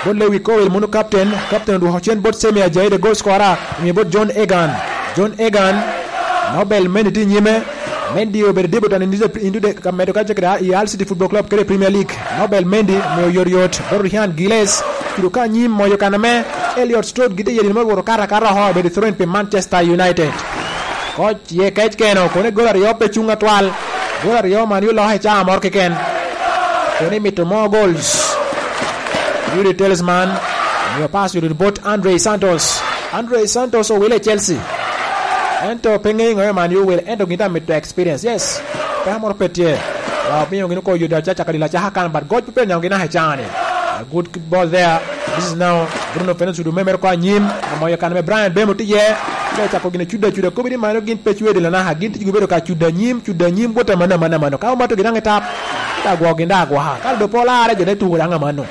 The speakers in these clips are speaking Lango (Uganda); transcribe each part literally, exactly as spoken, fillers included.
Bot Lewi Cole, munu captain. Captain odwoko cen bot Semi Ajayi, the goal scorer, omio bot John Egan. John Egan, Nobel Mendy tye i nyime. Mendy obedo debutant into the, into the, ka medo ka cakere i Hull City Football Club kede Premier League. Nobel Mendy omio yot yot bot Ryan Gillies. Kido ka anyim moyo kan ame Elliot Stroud gitye yeri me woro kara kara oho, obedo thrown pi Manchester United. Koc ye kec keno, kono i gol aryo pe cuŋ atwal. Gol aryo man yo loke i caa moro keken. Kono imito mo goals. Yudi Talisman, omio pass yudi bot Andre Santos. Andre Santos owile i Chelsea. Ento pe ŋeyo ŋo man yo owile, ento gin tye amito experience. Yes. Peko moro pe tye. Wa omiyo gin oko yudi acaka dilo acaka kan, but goc pe pe nyaŋo gin aka i caa ni. A good ball there. This is now Bruno Fernandes ocudo me mere oko anyim. Omoyo kan me Brian Bemo tye iye. Te cako gin cudo acuda. Kobedi mano gin pe cwede lanaka. Gin tye gubedo ka cudo anyim, cudo anyim, wot amano, amano, amano. Ka omato gin daŋ i tap, da gwok gin da agwoka. Ka do pol are jo te tuko daŋ amano.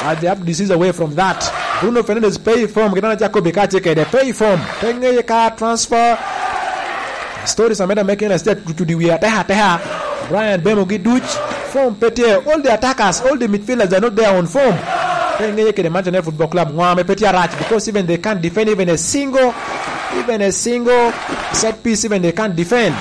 Uh, they have disease away from that. Bruno Fernandes pay form, gin acako bi ka tye kede. Pay form. Pe ŋeye ka transfer. Stories ameda me kena sia cucudi wie ateka ateka. Brian Bemo gi duc. Form pe tye. All the attackers, all the midfielders are not there on form. Pe ŋeye kede Manchester United Football Club. Ŋo ame pe tye arac, because even they can't defend even a single, even a single set piece, even they can't defend.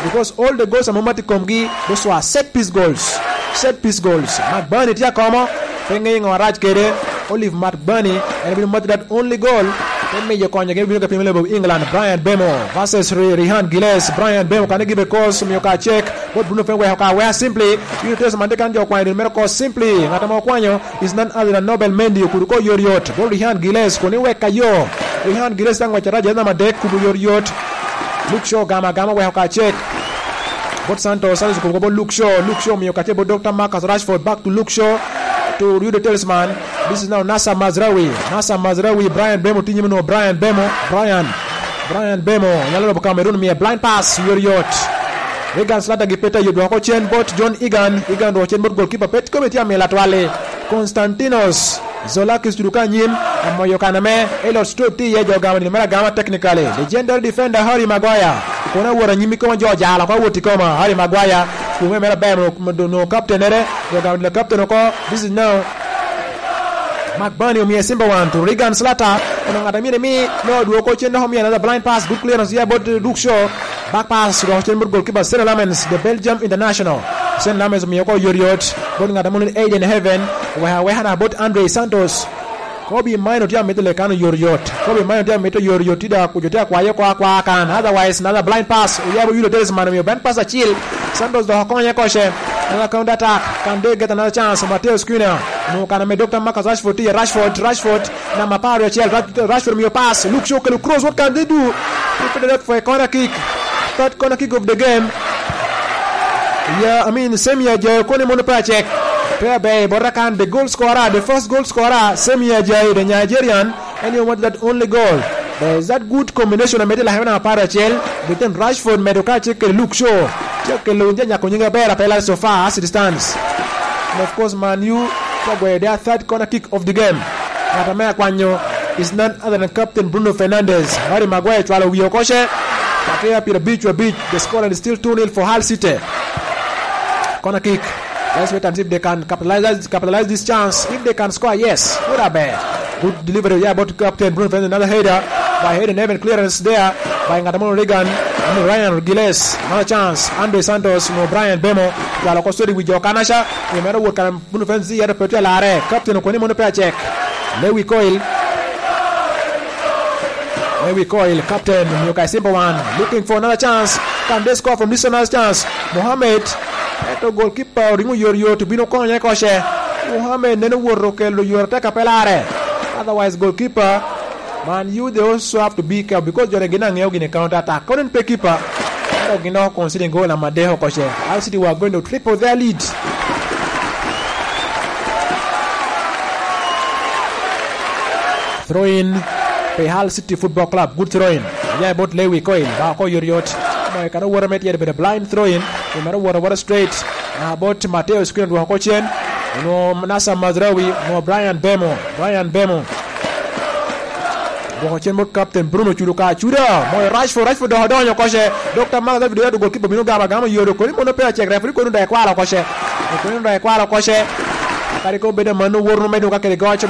Because all the goals ame omati komgi, those were set piece goals. Set piece goals. Mark Burney tye akomo. Pe ŋeye ŋo arac kede. Olive Mark Burney, en bino mati that only goal. Te miyo konyo gin bino ka pimo lebo England. Brian Bemo versus Ri-, Rihan Giles. Brian Bemo kane gibe kos, omio ka cek. Bot Bruno Fernandes weko ka wea simply. Yuro teso man te kan jo kwanyo dun mere kos simply. Ŋat ame okwanyo is none other than Nobel Mendy, okudo ko yot yot. Bot Rihan Giles, koni wek ka yo. Rihan Giles tang wek araja namba dek, kubo yot yot. Luke Shaw gama gama weko ka cek. Bot Santos, Santos okubo bot Luke Shaw. Luke Shaw omio kacce bot Doctor Marcus Rashford, back to Luke Shaw. To Rio de Talisman. This is now Nasser Mazraoui. Nasser Mazraoui, Brian Bemo, tinye meno, Brian Bemo, Brian. Brian Bemo, nyalo lobo Cameroon, miye blind pass, yot yot. Regan Slater gi peta yot dwoko cen bot John Egan. Egan dwoko cen bot goalkeeper, pet kome tye amila twali. Konstantinos Zolakis tudu ka anyim, amoyo kan ame Elliot Stroud tye iye, jo gamo nino mere agama technically. Legendary defender Harry Maguire. Kono awot anyim i koma, jo jalo oko awot i koma. Harry Maguire, kume mere aber, no, no, no captain ere, jo gamo nino captain oko. This is now Mark Burney omie Simba wan to Regan Slater. Kono ŋat amine mi, no, dwoko cen dok omie another blind pass, good clearance, yeah, but, uh, Luke Shaw. Back pass, dok cen bot goalkeeper Sena Lamens, the Belgium international. Sena Lamens omio ko yot yot. Bot ŋat ame Aiden Heaven, weka weka na bot Andre Santos. Kobe Maino tye amito lekano yot yot. Kobe Maino tye amito yot yot, tye da kujo tye akwayo ko akwa kan. Otherwise, another blind pass. Oyabo yudo Talisman omio blind pass acil. Santos dok okonye koce. Another counter attack. Can they get another chance? Mateo Squina. No, kan ame Doctor Marcus Rashford tye, Rashford, Rashford. Namba apar acel, Rashford omio pass. Luke Shaw okelo cross. What can they do? They put it up for a corner kick. Third corner kick of the game. Yeah, I mean, Semi Ajayi koni mono pe acek. Pe aber, bot akan, the goal scorer, the first goal scorer, Semi Ajayi, the Nigerian, and he wanted that only goal. There is that good combination amedde lakana apar acel between Rashford medo ka acek kede Luke Shaw. Tye kelo wun janyako nyinge aber apela so far as it stands. And of course, Man U tye gweyo their third corner kick of the game. Ŋat ame akwanyo is none other than Captain Bruno Fernandes. Harry Maguire cwalo wiye oko ce. Akeya pyerabic wa abic. The score is still two nil for Hull City. Corner kick. Let's wait and see if they can capitalize, capitalize this chance. If they can score, yes. Would have been good delivery. Yeah, but Captain Bruno Fernandes, another header by Hayden Heaven. Clearance there by Ngatamono Regan. I mean, Ryan Giles. Another chance. Andre Santos, no, Brian Bemo. Cwalo oko sodi wi jo kanaca. Imero wot kan Bruno Fernandes yero pe tye lare. Captain okoni mono pe acek. Lewi Coil. Lewi Coil, captain, omio ka simple one. Looking for another chance. Can they score from this another chance? Mohamed. Eto goalkeeper oringo yot yot, obino konye koce. Mohamed neno woto kelo yot atek a pe lare. Otherwise, goalkeeper, Man U, they also have to be careful because jone gin aŋeo gini counter attack. Kono en pe keeper. Ento gin dok considering goal namba adek oko ce. Hull City were going to triple their lead. Throw in pi Hull City Football Club. Good throw in. Aya bot Lewi Coil. Ba oko yot yot. Moyo kan owoto me tyero bedo blind throw in. Pi meno owoto awota straight. Na bot Mateo Squin odwoko oko cen. Onwo Nasser Mazraoui, onwo Brian Bemo. Brian Bemo. Dwoko cen bot Captain Bruno Cudo ka Cuda. Moyo Rashford, Rashford dok odonyo oko ce. Doctor Mark David Oyato goalkeeper bino gamo agama yodo. Koni mono pe acek, referee koni dok ekwalo oko ce. Koni dok ekwalo oko ce. Kadi ko bedo mano, woro medo ka kede goc.